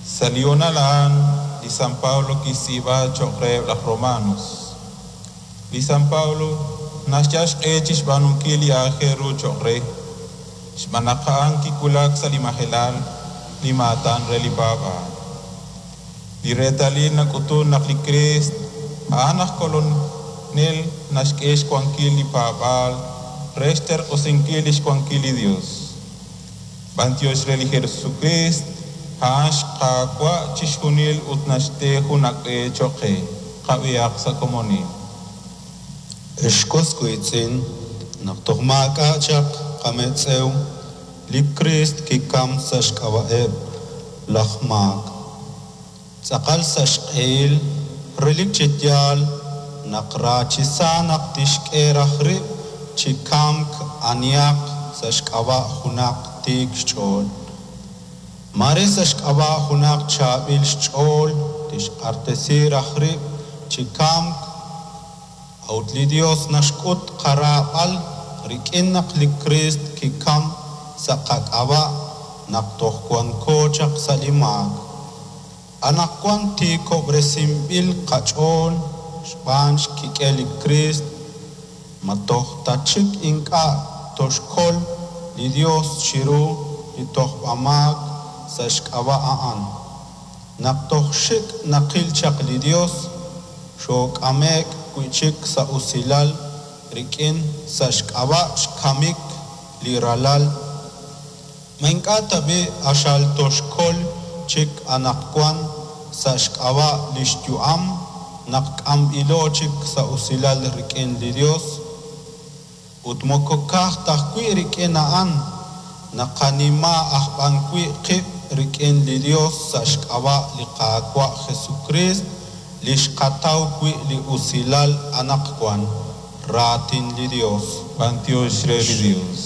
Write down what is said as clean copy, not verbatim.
Sa' li hoonal a'an, li San Pablo kixtz'iib'a cho'q reheb' laj Romanos. Li San Pablo naxyal xq'e chi xb'aanunkil li aajel ru cho'q re, xb'aan naq a'an kiwulak sa' li majelal, li maatan re li paab'aal. Li reetalil nak'utun naq li Kriist a'an aj Kolonel naxk'e xwankil li paab'aal re xterq'usinkil lix wankil li Dios. B'antiox re li Jesukriist, a'an xQaawa' chixjunil ut naxte jun ak' b'e cho'q qe. Qab'ihaq sa' komonil. Ex was wiitz'in, naq toj maak'a' chaq qametz'ew, li Kriist kikamk sa' xk'ab'a'eb' laj maak. Tz'aqal sa' xq'ehil, relik chi yaal naq ra chi sa naq tixk'e raj rib' chi kamk anihaq sa' xk'ab'a' junaq tiik xch'ool. Maare sa' xk'ab'a' junaq chaab'il xch'ool tixq'axtesi raj rib' chi kamk, a'ut li Yos naxk'ut qaraab'al rik'in naq li Kriist kikamk sa' qak'ab'a' naq toj wanko chaq sa' li maak. Anaqwan tiikob'resinb'il qach'ool xb'aan xkik'el li Kriist, ma toj ta chik ink'a' toxkol li Yos chiru li tojb'amaak sa' xk'ab'a' a'an? Naq toj xik' naqil chaq li Yos, xook'ame'k wi' chik sa' usilal rik'in sa' xk'ab'a' xkamik li Ralal. Ma ink'a' tab'i' q'axal toxkol chik anaqwan sa' xk'ab'a' li xyu'am naq k'amb'ilo chik sa' usilal rik'in li Yos? Ut moko ka'aj ta ajwi' rik'in a'an, naqanima aj b'an wi' qib' rik'in li Yos sa' xk'ab'a' li Qaawa' Jesukriist li xqataw wi' li usilal anaqwan. Raatin li Yos. B'antiox re li Dios.